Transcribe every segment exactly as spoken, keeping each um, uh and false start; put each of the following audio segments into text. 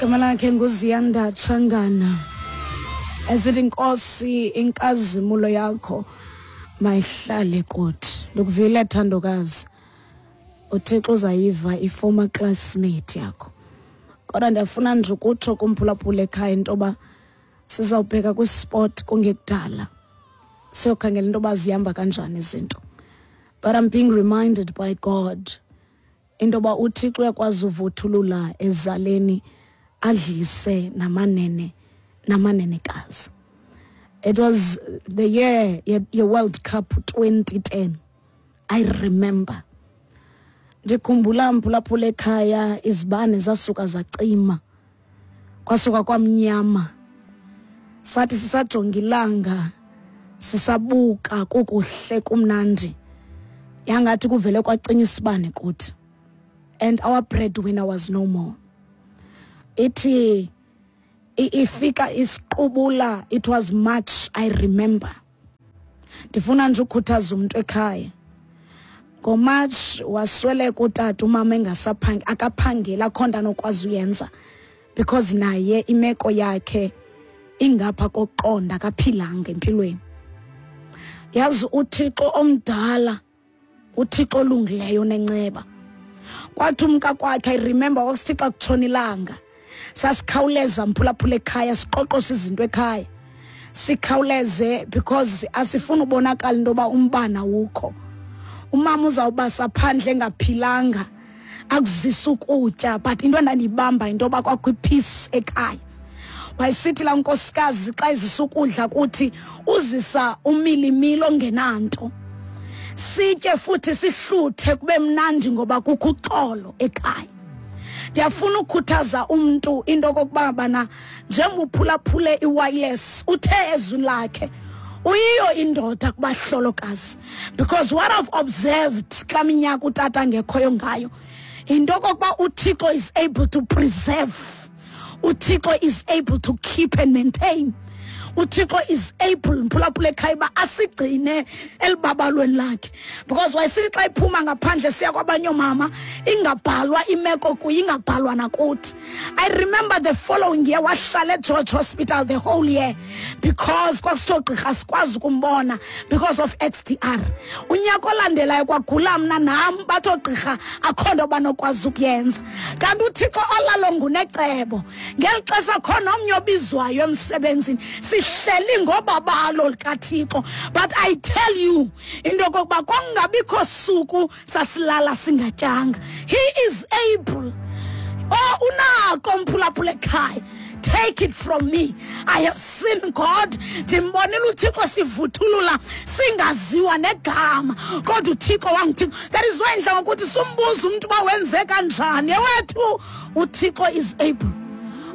Igama lakhe nguZiyanda Tshangana. Esithi, "Nkosi, inkazimulo yakho mayihlale kuthi." Ndikuvile, Thandokazi. UThixo uzayiva i-former classmate yakho. Kodwa ndiyafuna nje ukutsho kumphulaphula ekhaya into yoba sizawubheka kwisport kungekudala, siyokhangela into yoba zihamba kanjani izinto. But I'm being reminded by God into yoba uThixo uyakwazi uvuthulula ezaleni, adlise namanene namanenekazi. It was the year ye-World Cup twenty ten, I remember. Ndikhumbula, mphulaphula ekhaya, izibane zasuka zacima, kwasuka kwamnyama. Sathi sisajonga ilanga, sisabuka, kukuhle, kumnandi, yangathi kuvele kwacinywa isibane kuthi, and our breadwinner was no more. Ithi ifika isiqubula. It was March, I remember. Ndifuna nje ukhuthaza umuntu ekhaya. NgoMarch wasweleka utata, umama engasaphangi, akaphangeli, akho nto anokwazi uyenza because naye imeko yakhe ingapha kokuqonda, akaphilanga empilweni. Yazi, uThixo omdala, uThixo olungileyo nenceba. Kwathi umka kwakhe, I remember, kwakusithi xa kutshona ilanga sasikhawuleza, mphulaphula ekhaya, siqoqoshe izinto ekhaya, sikhawuleze because asifuni ubonakala into yoba umbane awukho. Umama uzawubasa phandle engaphilanga, akuzisa ukutya. But into endandiyibamba yinto yoba kwakho ipeace ekhaya. Wayesithi laa nkosikazi xa izisa ukudla kuthi, uzisa umilimili ongenanto, sitye futhi sihluthe, kube mnandi ngoba kukho uxolo ekhaya. Ndiyafuna ukukhuthaza umntu into okokuba bana njengoba uphulaphule iwireless, uthe ezwini lakhe uyiyo indoda kubahlolokazi, because what I've observed kulaa minyaka utata ngekhoyo ngayo yinto okokuba uThixo is able to preserve, uThixo is able to keep and maintain, uThixo is able, mphulaphula ekhaya, uba asigcine elibabalweni lakhe. Because wayesithi xa iphuma ngaphandle siya kwabanye oomama, ingabhalwa imeko kuyo, ingabhalwa nakuthi. I remember the following year wahlala eGeorge Hospital the whole year because kwakusithiwa gqirha sikwazi ukumbona because of X D R. Unyaka olandelayo kwagula mna nam, bathi oogqirha akho nto banokwazi ukuyenza. Kanti uThixo olalo ngunecebo. Ngeli xesha khona omnye obizwayo emsebenzini, sihleli ngobabalo likaThixo. But I tell you into yokokuba kwakungabikho suku sasilala singatyanga. He is able. Oh, unako, mphulaphula ekhaya. Take it from me, I have seen God. Ndimbonile uThixo sivuthulula singaziwa negama, kodwa uThixo wanguThixo. That is why ndla ngokuthi sumbuza umntu uba wenze kanjani. Ewethu, uThixo is able.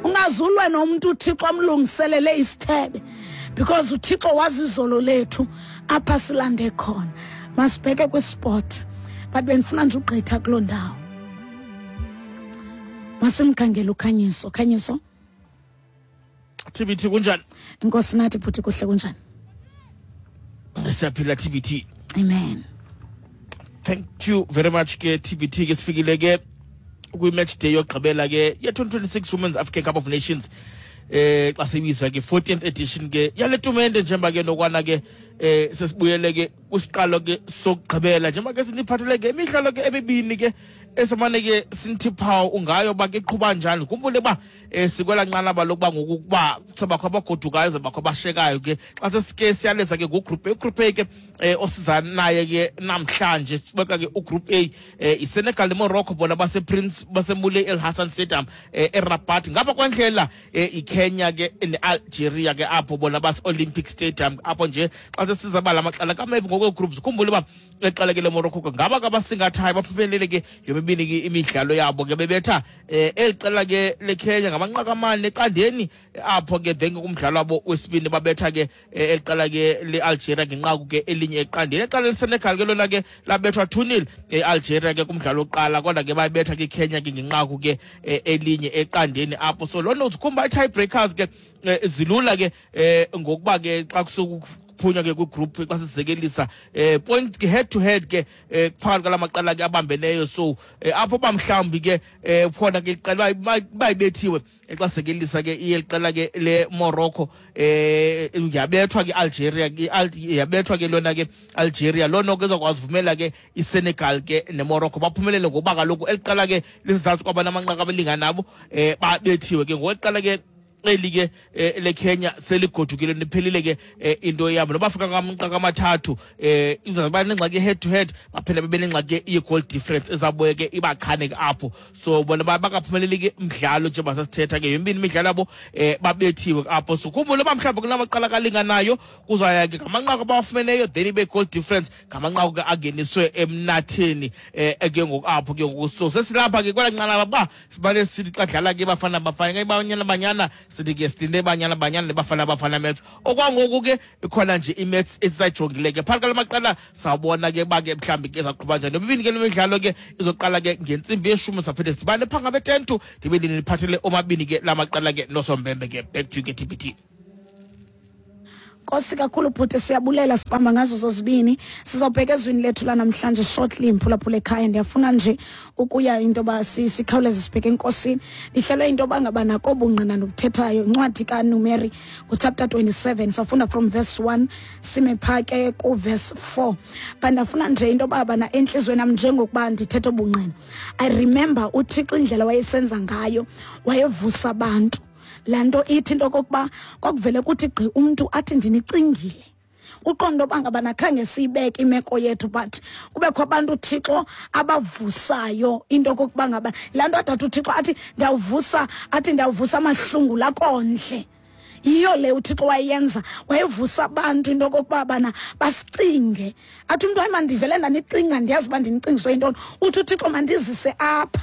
Ungazulwe nomntu uThixo amlungiselele isithebe, because uThixo wazi izolo lethu apha silande khona. Masibheke kwisport, but bendifuna nje ugqitha kuloo ndawo. Masimkhangele uKhanyiso. Khanyiso. T V T, kunjani? Inkosi nathi, bhuti, kuhle, kunjani? Siyaphila, T V T. Amen. Thank you very much ke, T V T. Ke sifikile ke kwi-match day yokugqibela ke ye-twenty twenty-six Women's African Cup of Nations, eh xa sibizwa ke fourteenth edition ke yale tumente, njengoba ke nokwana ke eh sesibuyele ke kwisiqalo ke sokugqibela, njengoba ke siniphathele ke imidlalo ke emibini ke esamane ke sinithi phawu ngayo uba ke iqhuba njani. Khumbule uba um sikwela nqanaba lokuba ngoku kuba sabakho abagodukayo, zabakho abashekayo ke. Xa sesike siyaleza ke ngugroup A, ugroup A ke um osiza naye ke namhlanje, sibeka ke ugroup A, um iSenegal neMorocco, bona basePrince baseMoulay El Hassan Stadium um eRabat. Ngapha kwendlela um iKenya ke neAlgeria ke, apho bona base-Olympic Stadium apho nje. Xa sesizaba la macala kamevu ngokwee-groups, khumbule uba eqala ke le Morocco ke ngaba kabasingathayo, baphumelele ke yomibini ke imidlalo yabo ke, bebetha um eli qela ke leKenya ngamanqaku amane eqandeni apho ke. Then kumdlalo wabo wesibini babetha ke eh, eli qela ke le-Algeria ngenqaku ke elinye eqandeni. Eqala leSenegal ke lona ke labethwa two nil e-Algeria ke kumdlalo wokuqala, kodwa ke bayibetha ke iKenya ke ngenqaku ke eh, elinye eqandeni apho. So loo nto zikhumba i-tie breakers ke eh, zilula ke eh, ngokuba ke xa kusuku ukuphunywa ke kwigroup xa sizekelisa eh point head to head ke eh phakathi kwalamaqela ke abambeneyo. So apho ba mhlawumbi ke khona ke iqela bayibethiwe xa sizekelisa ke iqela ke le Morocco eh yabethwa ke Algeria ke yabethwa ke lona ke Algeria lona ke ezakwazi uvumela ke iSenegal ke neMorocco baphumelele ngoba kaloku eliqala ke lisizathu kwabana amanqaku abalingana nabo eh babethiwe ke ngokuqala ke eli ke le Kenya seligodukile niphelile ke into yabo nobafika ngamnqaka amathathu eh izoba nengxaki head to head baphela bebe nengxaki ye goal difference ezabuye ke ibachane ke apho. So bona bakaphumeleli ke umdlalo njengoba sasithetha ke yombini imidlalo yabo eh babethiwe apho. So khumbula mhlawumbe kunamaqala kalinganayo kuzaya ke ngamanqaku abawafumeneyo then ibe goal difference ngamanqaku ke angeniswe emnatheni eh ke ngoku apho ke ngoku. So sesilapha ke kwela nqanaba ba sibale sithi xa dlala ke bafana bafana ke banyana banyana sithi ke silinde banyana banyana nebafana bafana maths okwangoku ke ikhona nje imaths esisayijongile ke phakathi kwamaqela sawubona ke ba ke mhlambi ke izaqhuba njani nobibini ke lemidlalo ke izoqala ke ngentsimbi yeshumi saphinde sibane phanga be-ten to ndibe ndiniphathele omabini ke lamaqela ke nosombembe ke. Back to you ke T B T. Nkosi kakhulu bhuti, siyabulela, sibamba ngazo zozibini. Sizawubheka ezwini lethu lanamhlanje shortly, mphulaphula ekhaya. Ndiyafuna nje ukuya into yoba sikhawuleze sibheke enkosini. Ndihlelwe into yoba ngaba nako bungqina nobuthethayo incwadi kaNumeri nguchapter twenty-seven, safunda from verse one sime phaa ke kuverse four. But ndafuna nje into yoba bana entliziyweni yam njengokuba ndithetha ubungqina, I remember uThixo indlela wayesenza ngayo, wayevusa abantu. Laa nto ithi into okokuba kwakuvele kuthi gqi umntu athi ndinicingile, uqonda uba ngabana khange siyibeke imeko yethu, but kubekho abantu uThixo abavusayo into okokuba ngaba laa nto adathi uThixo athi ndawuvusa, athi ndawuvusa amahlungu lakondle. Yiyo le uThixo wayenza, wayevusa abantu into okokuba bana basicinge, athi umntu hayi mandivele ndanicinga, ndiyazi uba ndinicingiswe yintoni. Uthi uThixo mandizise apha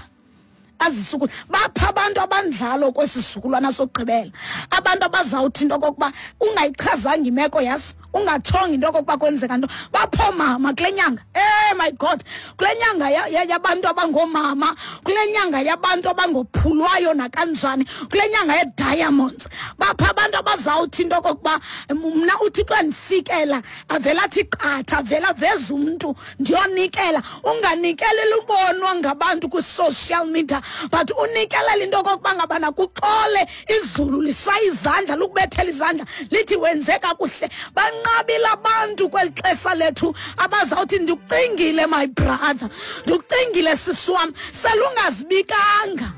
azisuku bapha abantu abanjalo kwesi sizukulwana sokugqibela, abantu abazawuthi into okokuba ungayichazanga imeko yasi, ungatshonga into okokuba kwenzeka nto. Bapho mama kule nyanga, eh my God, kule nyanga yabantu abangoomama, kule nyanga yabantu abangophulwayo nakanjani, kule nyanga ye-diamonds, bapha abantu abazawuthi into okokuba mna uThixo andifikela avela athi qatha, avela aveza umntu ndiyonikela. Unganikeleli ubonwa ngabantu kwi-social media, but unikelela into okokuba ngabana kuxole izulu lishaye izandla, lukubethela izandla lithi wenze kakuhle. Banqabile abantu kweli xesha lethu abazawuthi ndikucingile my brother, ndikucingile sisi wam, selungazibikanga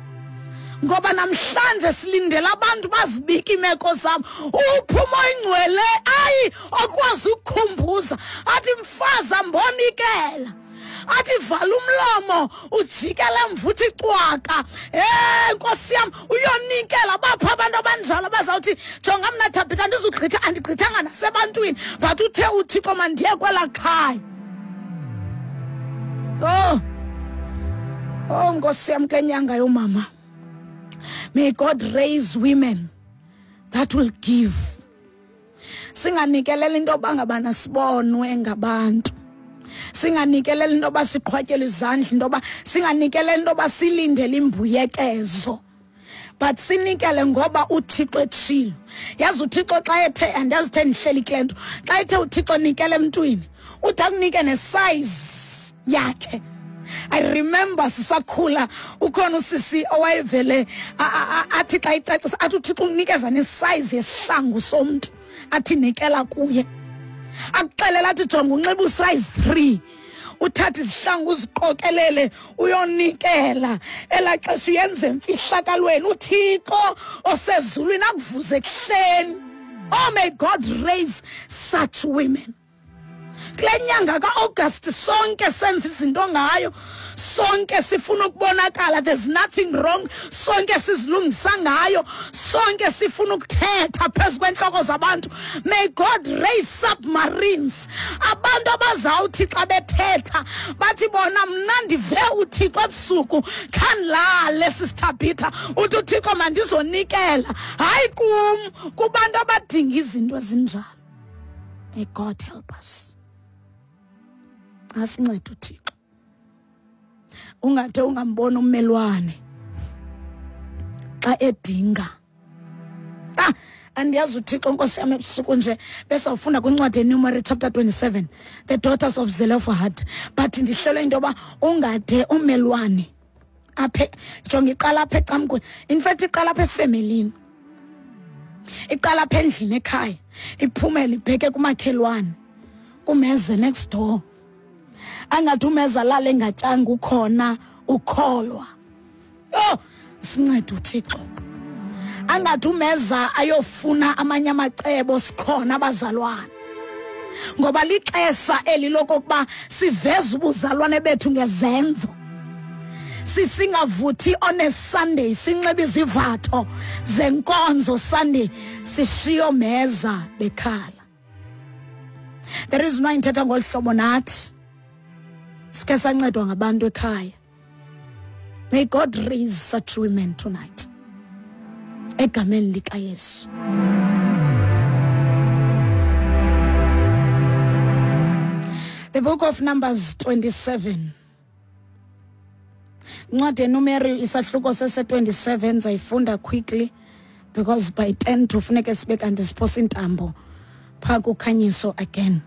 ngoba namhlanje silindele abantu bazibike imeko zabo. Uphumo ingcwele ayi okwazi ukukhumbuza athi mfazi ambonikela, athi vala umlomo ujikele emva uthi cwaka, eh Nkosi yam uyonikela. Bapha abantu abanjalo abazawuthi jonga mna Thabitha andizugqitha, andigqithanga nasebantwini, but uthe uThixo mandiye kwelaa khaya. Oh oh Nkosi yam, kule nyanga yomama, may God raise women that will give. Singanikelela into yoba ngabana sibonwe ngabantu, singanikelela into yoba siqhwatyelwe izandla, into yoba singanikelela into yoba silindele imbuyekezo, but sinikele ngoba uThixo etshilo. Yazi uThixo xa ethe, andiyazi the ndihleli kule nto, xa ethe uThixo nikele emntwini, ude akunike nesize yakhe. I remember sisakhula ukhona usisi owayevele athi xa icacisa athi uThixo unikeza nesize yesihlangu somntu athi nikela kuye, akuxelela athi jonga unxiba usize three, uthathe izihlangu uziqokelele uyonikela. Elaa xesha uyenze emfihlakalweni, uThixo osezulwini akuvuze ekuhleni. Oh, may God raise such women kule nyanga ka-August. Sonke senza izinto ngayo, sonke sifuna ukubonakala, there's nothing wrong, sonke sizilungisa ngayo, sonke sifuna ukuthetha phezu kwentloko zabantu. May God raise submarines, abantu abazawuthi xa bethetha bathi bona mna ndive uThixo ebusuku khandilale, sisithabitha uthi uThixo mandizonikela, hayi kum, kubantu abadinga izinto ezinjalo. May God help us, asincede uThixo. Ungade ungambona ummelwane xa edinga. Ah, Andiyazi uThixo, Nkosi yam, ebusuku nje besawufunda kwincwadi yeNumeri chapter twenty-seven, the daughters of Zelophehad, but ndihlelwe into yoba ungade umelwane aphe. Jonga, iqala apha ecamkweni. In fact, iqala apha efemelini, iqala apha endlini ekhaya, iphumele ibheke kumakhelwane, kumeze next door. Angathi umeza lale engatyanga, ukhona ukholwa. Yho, sincede uThixo. Angathi umeza ayofuna amanye amacebo, sikhona abazalwane, ngoba lixesha eli lokokuba siveze ubuzalwane bethu ngezenzo. Sisingavuthi on a Sunday sinxibe izivatho zenkonzo Sunday, sishiyo meza bekhala. There is no inthetha ngolu hlobo, nathi sike sancedwa ngabantu ekhaya. May God raise such women tonight, egameni likaYesu. The book of Numbers twenty-seven, incwadi yeNumeri isahluko sese-twenty-seven. Ndizayifunda quickly because by ten to funeke sibe kanti siphosa intambo phaa kukhanyiso again.